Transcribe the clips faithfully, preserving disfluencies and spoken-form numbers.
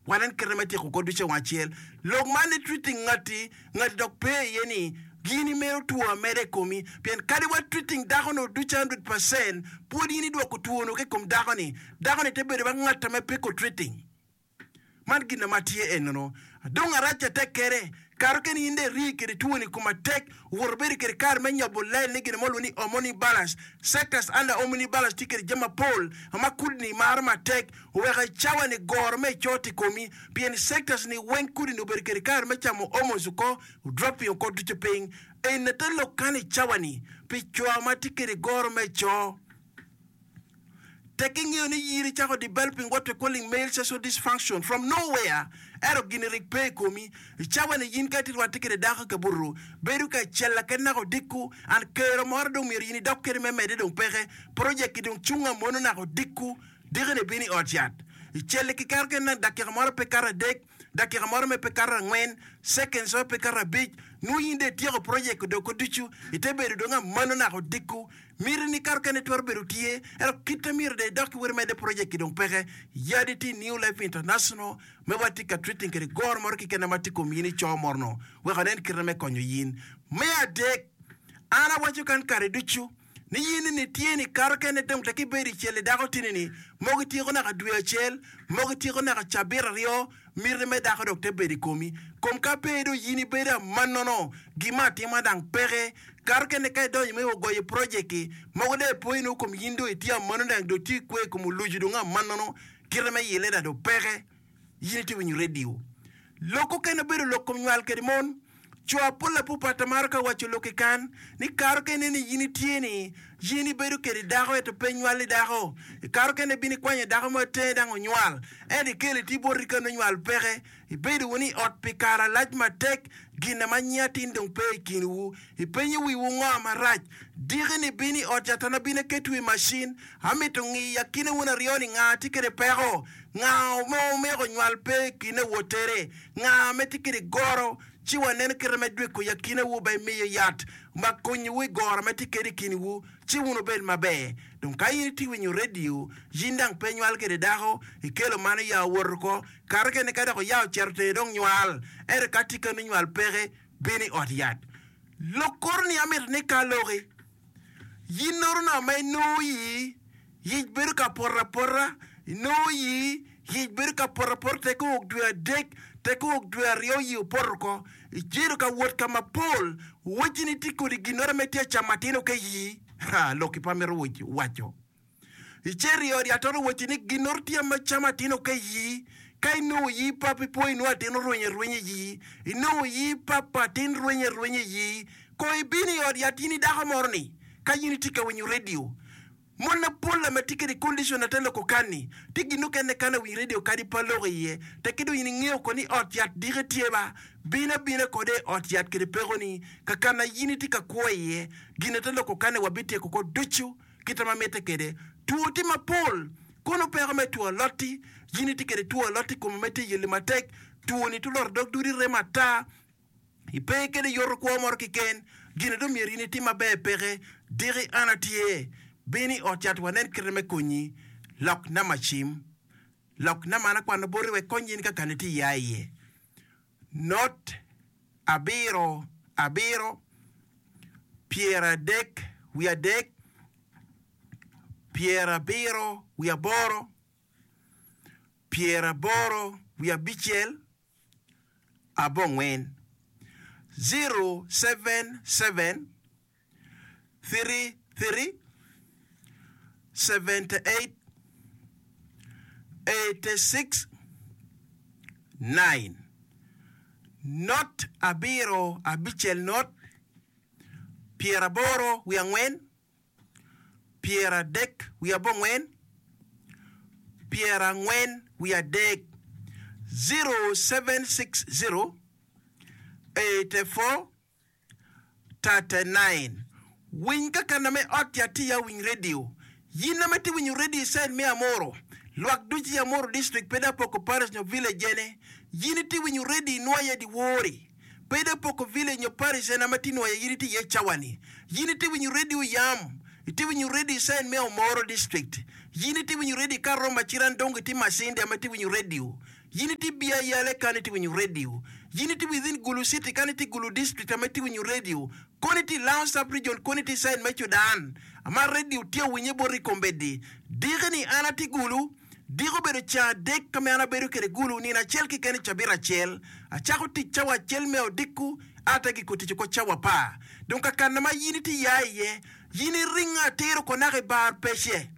Wanen kite me tyeko kor ducu i wang acel. Lok man ni treating ngati, ngati dok pe iye ni gin imedo two ameda i komi. Pien kadi wa treating dako-nu ducu hundred percent, pwod in idwoko two-nu ki i kom dako-ni. Dako-ni te bedo ba ngat ma piko treating. Man gin ma tye enono. Dong arac atek kede, kato keni in dong iri kede twoni i kom atek, owoto bedo kede kare me nyobo len ni gin mo lwongo ni hormone imbalance. Sectors under hormone imbalance tye kede jami mapol ma kudni maro matek oweko i cawa ni goro me icot i komi pien sectors ni weng kudni obedo kede kare me camo hormones oko dropping oko ducu piny. Eni te lok kan i cawa ni pi co ma tye kede goro me co. Tek ingeyo ni in icako developing what we calling male sexual dysfunction from nowhere ento gini rik pe i komi. I cawa ni in ka itye rwatte kede dako i kabuto, bedo ka icella kede naka odiko and kero moro dong myero in idok kede me medde dong peke. Project ki dong cung amono naka odiko, diki ni bino i ot yat. Icelli ki kero kene naka dakika moro pe kato adek, dakika moro me pe kato angwen, seconds mo pe kato abic, nongo in dong ityeko project doko ducu, ite bedo dong amano naka odiko. Miti ni kato kene twero bedo tye, ento kite myero dong idok ki weri medde project ki dong peke. Yadi tye i New Life International me watye ka treating kede goro moro keken ma tye kom yin i coo moro no wek anen kite me konyo yin. Me adek, an awaco kan kare ducu ni yin ni tye ni kato kene dong tek ibedo i cel i dako tini ni mogo ityeko naka dwe acel, mogo ityeko naka cabit aryo, miti me dako dok te bedo i komi. Kom ka pe dong yin ibedo amannono, gin me atima dang peke. Kato kene ka idonyo me ogoyo project-ki, mogo dong ipoyo nongo kom yin dong itye amanno dang dong tye ikwe i kom olucu dong amannono, kite me yile dang dong peke. Yin itye winyo radio. Lok okene obedo lok kom nywal kede mon. Co apol apupat amaro ka waco lok i kan ni kato kene ni yin itye ni yin ibedo kede dako ento pe nywali dako. Ikato kene ibino ikwanyo dako mo itenge dang onywal ento ikelo iti boti ka nongo nywal peke. Ibedo wunu i ot pi kare alac matek, gin ma nyinga atin dong pe i kinwu. Ipenyo wiwu ngo marac? Diki ni bino i ot catan abino aketwu i macin. Amito ngiyo akine wun aryo ni nga tye kede peko, nga ma omeko nywal pe i kine wotere, nga me tye kede goro, ci waneno kite me dweko i akinewu ba imiyo yat ma konyowu i goro ma tye kede i kinwu, ci wun wubed maber. Dong ka in itye winyo redio, in dang pe inywal kede dako, ikelo mano ya owoto oko, kare kene ka dok oya ocito tenge dong nywal, ento ka tye kanu nywal peke, bino i ot yat. Lok koro ni amito ni ka aloki. Yin noro ma inongo iyi, yic bedo ka poto apota, inongo iyi, yic bedo ka poto apota tek owok dwe adek, tek owok dwe aryo yi opoto oko. Icedo ka wot ka mapol, wacci ni tye kodi ginoro ma itye ka camo atino ka iyi. Ha, lokki pe amito waco. Icito i ot yat ot owacci ni ginoro tye ma camo atino ka iyi. Ka inongo iyi pap ipo inongo atin orwenyo arwenya iyi. Inongo iyi pap atin rwenyo arwenya iyi. Ko ibino i ot yat in i dako moro ni ka in itye ka winyo radio. Mon mapol ma tye kede condition ate loko kan-ni tye gin mukene kan awiny radio kadi pe aloko iye. Tekke dong in ingeyo ko ni ot yat dike tye ba, bin abina kode i ot yat kede peko-ni kakana in itye ka kwo iye. Gin ate loko kan-ni wabityeko ko ducu kite ma mitte kede. Two tye mapol. Kono peko me two alot-ti, in itye kede two alot i komi ma itye yelli matek, two-ni tuloro dog dudi remo ata, ipe kede yoto kwo moro keken, gin dong myero in itim maber peke. Diki an atye. Bin i ot cat wanen kite me konyi. Lok namba cim. Lok namba an akwano boti wek kony in ka kan itye iya iye. Not abiro abiro pyeradek wiye adek pyerabiro wiye aboro pyeraboro wiye abicel abongwen zero seven seven three three seventy eight eighty six nine not abiro abicel not pyeraboro wiye angwen pyeradek wiye abongwen pyerangwen wiye adek zero seven six zero eighty four thirty nine Winy kakana me ot ya tye ya winy radio. Yin ame tye winyo radio i side me Amuru, lwak ducu i Amuru district pe da poko parish nyo village ene. Yin itye winyo radio inwoya di wori. Pe da poko village nyo parish ene ame tye nwoya yin itye iye cawa ni. Yin itye winyo radio yam, itye winyo radio i side me Omoro district. Yin itye winyo radio i Karomba, Cirandongo itye Masindi ame tye winyo radio. In itye Bia Yale kan itye winyo radio. In itye within Gulu City kan itye Gulu District ame itye winyo radio. Kono itye i Lango Sub Region kono itye i side me Sudan ama radio tye awinye boti i kombeddi. Diki ni an atye Gulu. Diki obedo ceng adek ka me an abedo kede Gulu nino acel keken i cabit acel. Acako tic cawa acel me odiko ate giko tic oko cawa apar. Dong kakana ma in itye ya iye, in iringo atir oko naka i bar pece.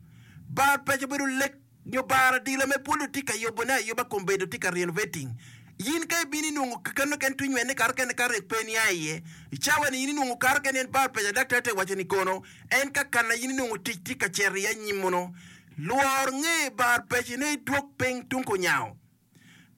Bar pece obedo lek nyo bar adila me pwod otye ka yubone ayuba kombeddi otye ka renovating. In ka ibino inwongo kekeno ken twi nywene kato kene ka rek pe nia iye. I cawa ni in inwongo kato kene en bar pece daktar te waco ni kono en kakana in inwongo tic tye ka cito iye anyim mono. Lwor nge bar pece ne idwog piny tung kunyango.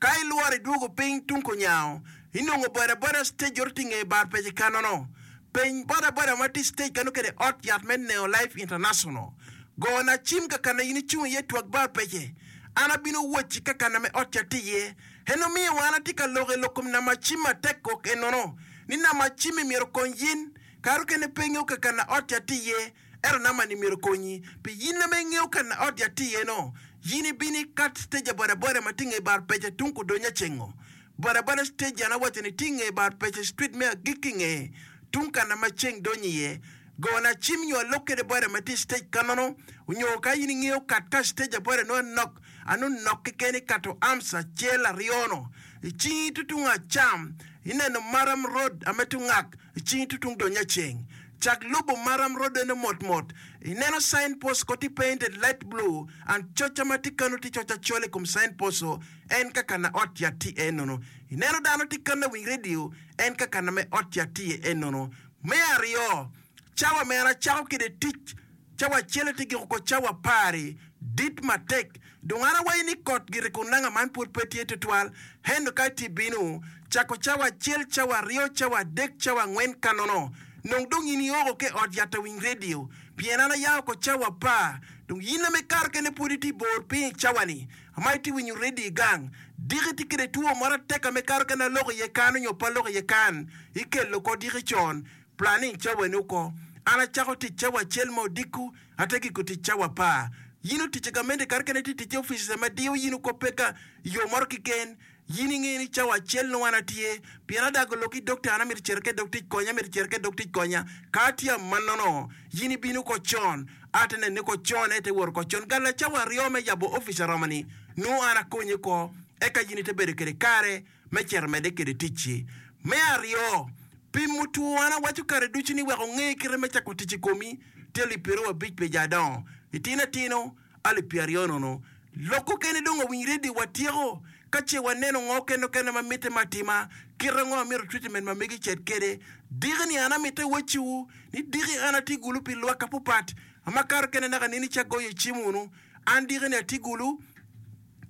Ka ilworo idwogo piny tung kunyango, inongo bodaboda stage oro tye nge bar pece kanono. Peny bodaboda ma tye stage kano kede ot yat me Neo Life International. Go na cim kakana in icung iye twak bar pece. An abino wocci kakana me ot yat tye iye. En omiyo an atye ka lok i lok kom nama cim matek kok enono. Ni nama cim-mi myero okony in. Kare okene pe ingeyo kakana ot yat tye iye. Ento nama ni myero okonyi. Pi in ame ingeyo ka na ot yat tye iye no, in ibino ikat stage a bodaboda ma tye nge bar pece tung kudonyo acengo. Bodaboda stage an awaco ni tye nge bar pece street me agikki nge tung kana ma ceng donyo iye. Gona cim nyo alok kede boda ma tye i stage kanono, onyo ka in ingeyo kat ka stage a boda nongo anok ano nok keken ikato arms acel aryo no. I cingi tutung acam ineno Maram Road ame tungak i cingi tutung donyo aceng. Cak lubo maram rodene motmot. Ineno sign post ko tye painted light blue and coca ma tye kano tye coc acol i kom sign post o en ka kana ot yat tye enono. Ineno dano tye kano awiny radio en ka kana me ot yat tye enono. Me aryo, cawa mere acako kede tic Cawa acel aye tye giko ko cawa apar-ri dit matek. Dong an awaco ni kot gire kun nanga man pwod pe tye tutwal. Ento ka itye bino, cako cawa acel, cawa aryo, cawa adek, cawa angwen ka nono, nong dong in ioko ki i ot yat awiny redio. Pien an aya oko cawa apar. Dong in ame ikato kene pwod itye bor piny i cawa-ni ma itye winyo redio i gang. Diki itye kede two moro atek ame ikato kene aloko iye kan onyo pe aloko iye kan, ikelo oko diki con. Planning cawa-ni oko. An acako tic cawa acel ma odiko, ate giko tic cawa apar. Yin otic i gamente kare kene itye tic i offices ma diyo yin oko pe ka yo moro kiken. Yin ingeyo ni cawa acel nongo an atye, pien adago lok ki doctor an amito cito ke dog tic konya, amito cito ke dog tic konya. Ka atye amannono, yin ibino oko con, ate neni oko con, ete wot oko con. Galla cawa aryo me yabo office aromo-ni, nongo an akonyi oko, eka yin ite bedo kede kare me cito medde kede ticci. Me aryo, pimo two an awaco kare ducu ni wek onge kite me cako tic i komi tye alip pyeraryo abic pi ja adongo, itino atino alip pyeraryo nono. Lok okene dong owiny redio watyeko ka ce waneno ngo kene okene ma mitte me atima, kite ango amito treatment ma megi cet kede. Diki ni an amite wacciwu ni diki an atye gulu pi lwak apupat amakato kene naka nini ca goyo cim wunu. An diki ni atye gulu.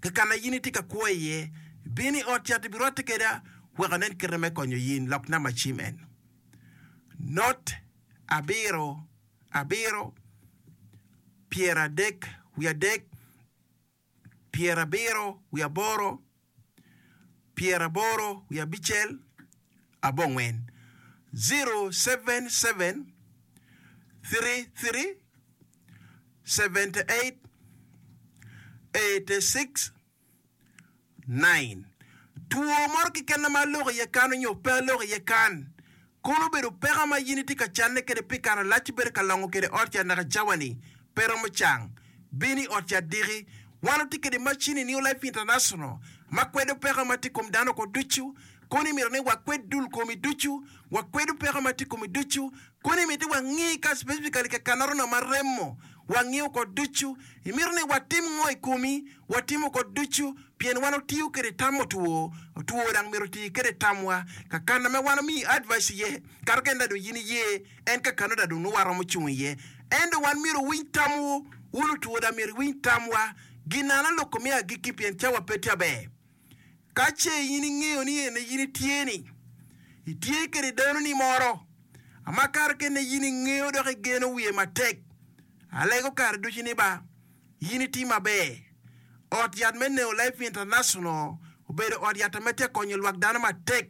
Kakana in itye ka kwo iye, bin i ot cat ibirwatte keda wek anen kite me konyo in. Lok namba cim en, not abiro abiro pyeradek wiye adek pyerabiro wiye aboro pyeraboro wiye abicel abongwen, zero seven seven three three seventy eight eighty six nine Two moro keken ma aloko iye kan onyo pe aloko iye kan, kono obedo peko ma in itye ka canne kwede pi kare malac ibedo ka longo kwede ot yat naka cawa-ni pe romo cang. Bin i ot yat diki. Wan watye kwede macin i New Life International ma kwedo peko ma tye i kom dano oko ducu. Kono imito ni wakwed dul komi ducu, wakwedo peko ma tye i komi ducu. Kono imiti wangi ka specifically ka kanoro ma remo, wangi oko ducu. Imito ni watim ngo i komi, watimo oko ducu, pien wan otiyo kede tam otwo, otwo dang myero oti kede tamwa. Kakana ma wan omiyi advice iye, kato kene dong in iye, en kakano dong nongo waromo cung iye. Ento wan myero owiny tamwu, wun otwo dang myero iwiny tamwa. Ginana loko me agikki pien cawa pe tye aber. Ka ce in ingeyo ni ene in itye-ni, itye kede danoni moro, ama kare kene in ingeyo dok igeno wiye matek, alego kare ducu ni ba, in iti maber. Ot yat me Neo Life International obedo ot yat ma tye ka konyo lwak dano matek,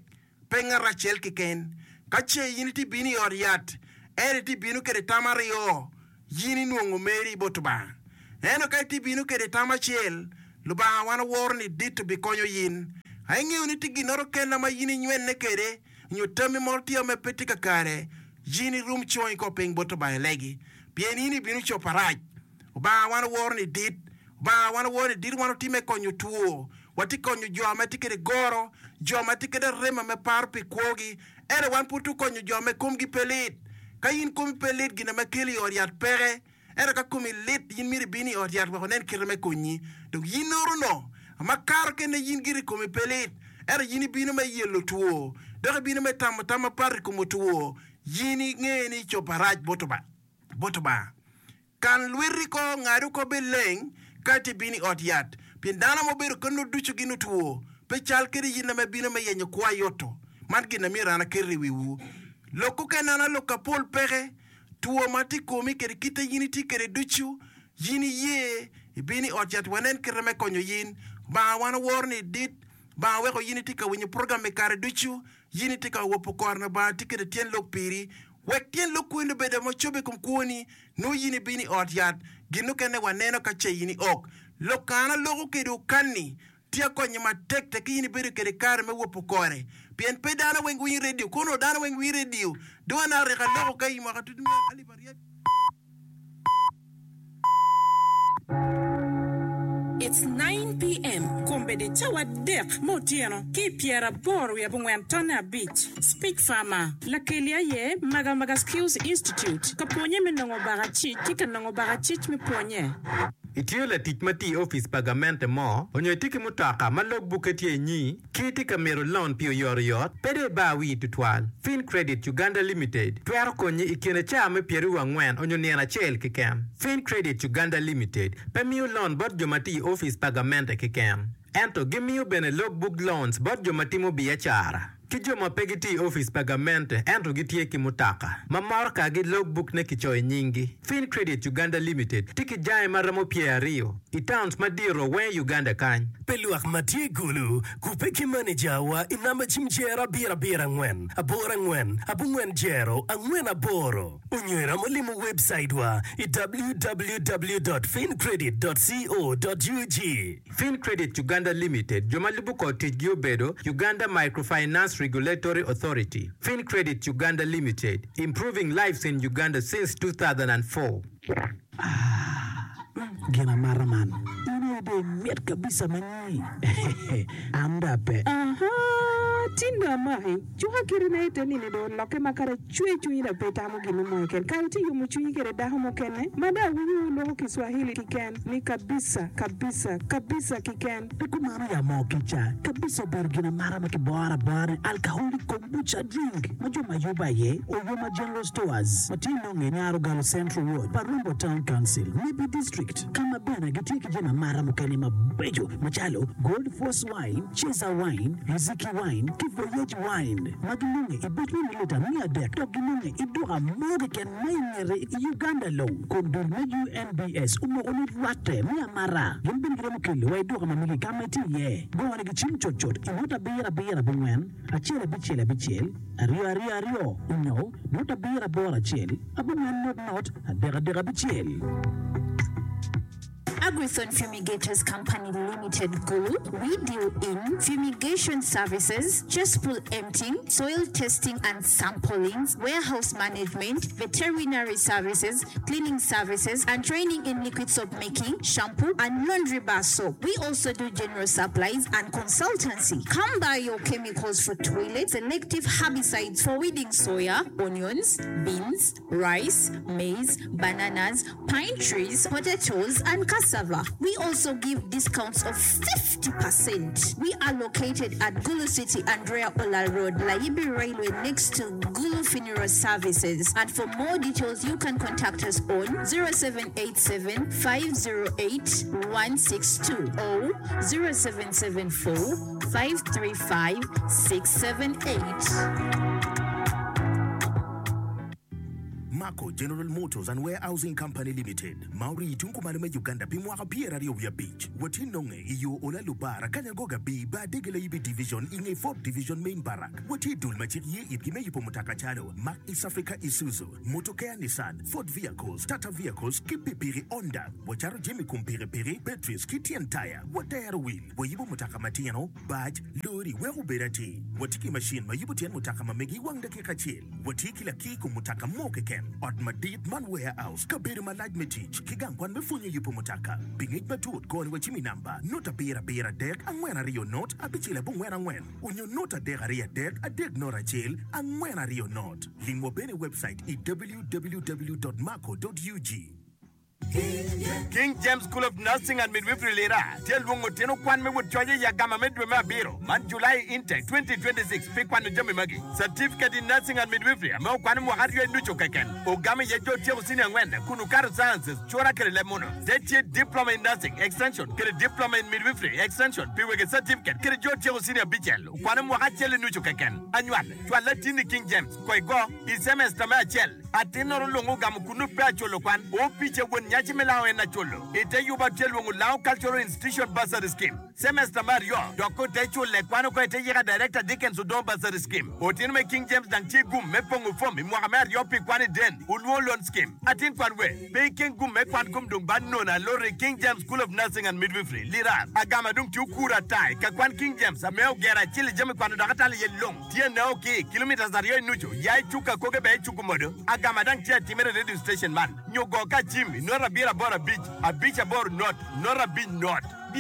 pe ngat acel keken. Ka ce in itye bino i ot yat, ento itye bino kede tam aryo, in inwongo meri bot Lubanga. Ento ka itye bino kede tam acel, Lubanga wan oworo ni dit obikonyo in. A ingeyo ni tye ginoro kena ma in inywenne kwede, nyo tammi moro tye ma pe tye kakare, in irum congi ko piny bot Lubanga ilegi, pien in ibino cobo arac. Lubanga wan oworo ni dit. Lubanga wan oworo ni dit wan watye me konyo two. Watye konyo jo ma tye kwede goro, jo ma tye kwede arema me paro pi kwogi. Ento wan pud tye konyo jo ma komgi pe lit. Ka in komi pe lit, gin ma kelo i ot yat peke. Ento ka komi lit, in myero ibin i ot yat wek onen kite me konyi. Dong in oro-no, makato kene in giri komi pe lit, ento in ibino me yelo two, dok ibino me tamo tam mapat i kom otwo, in inge ni icobo arac bot Lubanga. Kan lweti ko, ngad oko bed leng, ka iti bino i ot yat. Pien dano ma obedo keno ducu gin otwo, pe cal kede in ame bino me yenyo kwo ayoto. Man gin a myero an aket i wiwu. Lok okene an alok apol peke, two ma tye i komi kede kite in itye kede ducu, in iye, ibino i ot yat wanen kite me konyo in. Lubanga wan oworo ni dit, Lubanga weko in itye ka winyo program i kare ducu, in itye ka wopo kore Lubanga tye kede tyen lok piri. Wek tyen lok kwene obed ma ocobbe i kom kwoni, nongo in ibino i ot yat, gin mukene waneno ka ce in iok. Lok ka an aloko kwede okanni, tye akonye matek tek ki in ibedo kwede kare me wopo kore. Pien pe dano weng winyo redio, kono dano weng winyo redio, dong an areko aloko ka i mwaka tutu me alip aryo. It's nine PM, Kombeddi cawa adek me otyeno ki i pyeraboro wiye abongwen tonne abic. Speech Farmer, Lakeli aye Magamaga Skills Institute ka pwonye me nongo bakacic ki ka nongo bakacic me pwonye. Itye latic ma tye i opic pa gamente mo, onyo itye ki mutoka ma log bukke tye inyi, ki itye ka mito loan pi oyotoyot, pe dong ibar wii tutwal. Fin Credit Uganda Limited twero konyi i kine caa me pyeraryo angwen onyo nino acel keken. Fin Credit Uganda Limited pe miyo loan bot jo ma tye i opic pa gamente keken, ento gimiyo bene log book loans bot jo ma timo biacara ki jo ma pe gitye i opic pa gamente ento gitye ki mutoka ma motokagi log book ne kicoyo i nyinggi. Fin Credit Uganda Limited tye ki jange ma romo pyer aryo i towns madito weng i Uganda kany. Pi lwak ma tye i Gulu, kubbe ki maneja wa i namba cim jero abiro abiro angwen aboro angwen abongwen jero angwen aboro onyo iromo limo webcait wa i www dot fincredit dot co dot ug. Fin Credit Uganda Limited, jo ma lubo kor ticgi obedo, Uganda Microfinance Regulatory Authority, Fin Credit Uganda Limited, improving lives in Uganda since two thousand and four. Ah, gin amata man. In aye dong imit kabisa ma nyi. An dong ape. Aha, tin dong amaki. Cuka kiti na ite nini dong olokke ma kadi acwe cwinyi dong pe itamo gin mo keken. Kare tye yomo cwinyi kede dako mukene ma dong awinyo wuloko Kiswahili kiken ni kabisa, kabisa, kabisa kiken. Pe kumano ya moo kica. Kabisa obedo gin amata ma kiboro abora ni alcoholic kombucha drink ma jo ma yubo aye Oyoma General Stores ma tye nonge i Nyarogalo Central Ward pa Rombo Town Council, Nebbi District ka ma bene gitye ki jami amata mukene mabeco macalo Gold Force Wine, Cesar Wine, Riziki Wine ki Voyage Wine ma ginonge i buc me mililita miya adek dok ginonge i duka mo keken ma i ngete i Uganda long kun dul me U N B S omoko ni rwatte me amata gin bene giromo kelo wa i duka ma megi ka ma itye iye. Gone gi cim cutcut i nota abiro abiro abongwen acel abicel abicel aryo aryo aryo onyo nota abiro aboro acel abongwen not not adek adek abicel. Agrithon Fumigators Company Limited Gulu, we deal in fumigation services, cesspool emptying, soil testing and sampling, warehouse management, veterinary services, cleaning services, and training in liquid soap making, shampoo, and laundry bar soap. We also do general supplies and consultancy. Come buy your chemicals for toilets, selective herbicides for weeding soya, onions, beans, rice, maize, bananas, pine trees, potatoes, and cassava. We also give discounts of fifty percent. We are located at Gulu City, Andrea Ola Road, Layibi Railway, next to Gulu Funeral Services. And for more details, you can contact us on zero seven eight seven, five zero eight, one six two or zero seven seven four, five three five, six seven eight. Mak Marco General Motors and Warehousing Company Limited. Maori tung kumalo me Uganda pi mwaka pyera aryo wiye abic. Watye nonge i yo Ola Lubara Kanyangoga B ba Degela Ibi Division i nge Fourth Division Main Barrack. Watye dul ma cik ye itgi me yubo mutoka calo Mack East Africa Isuzu, Motokea Nissan, Ford Vehicles, Tata Vehicles ki pikipiki Honda. Wacato jami kom pikipiki, batteries ki tyen taya. Watero wil. Wayubo mutoka matino, bac, lori wek obed atir. Watye ki macin ma yubo tyen mutoka ma megi i wang dakika acel. Watye ki lakir kom mutoka mo keken. Ot madit man warehouse, kabedo malac me tic, ki gang kwan me pwonyo yubo mutoka. Pi ngec matut goni wa cim i namba not abiro abiro adek angwen aryo not abicel abongwen angwen onyo not adek aryo adek adek not acel angwen aryo not. Limwa bene website i www.marco.ug. King James School of Nursing and Midwifery Lira tye lwongo tino kwan me wot coye i agama me dwe me abiro man July intake twenty twenty-six pi kwano jami magi Certificate in Nursing and Midwifery ame okwano mwaka aryo i nucu keken ogamo iye jo tyeko senior angwen kun okato sciences cura kede leb muno te tye Diploma in Nursing Extension kede Diploma in Midwifery Extension pi wege certificate kede jo tyeko senior abicel okwano mwaka acel i nucu keken anywal cwal latin i King James ko igo i semester me acel atin-noro lwongo ogamo kunu pe aculo kwan opice won nyaci me lao en aculo ite yuba tye lwongo Lao Cultural Institution Bursary Scheme semester me aryo dok ote cule kwan oko ite yika Director Dickens Odong Bursary Scheme otino me King James dang tye gum me pongo fom i mwaka me aryo pi kwan i den ulwongo Loan Scheme atin kwan we pe ikeng gum me kwan kom dong ban nono alori King James School of Nursing and Midwifery Lira agama dong tye okuro atai ka kwan King James ame ogero acel i jami kwano dok atalo iye long tye neo ki kilometers aryo i nucu ya icuka koke be icuku modo agama dang tye atimere radio station man nyo go ka cim i not abiro aboro abic abic aboro not not abic not.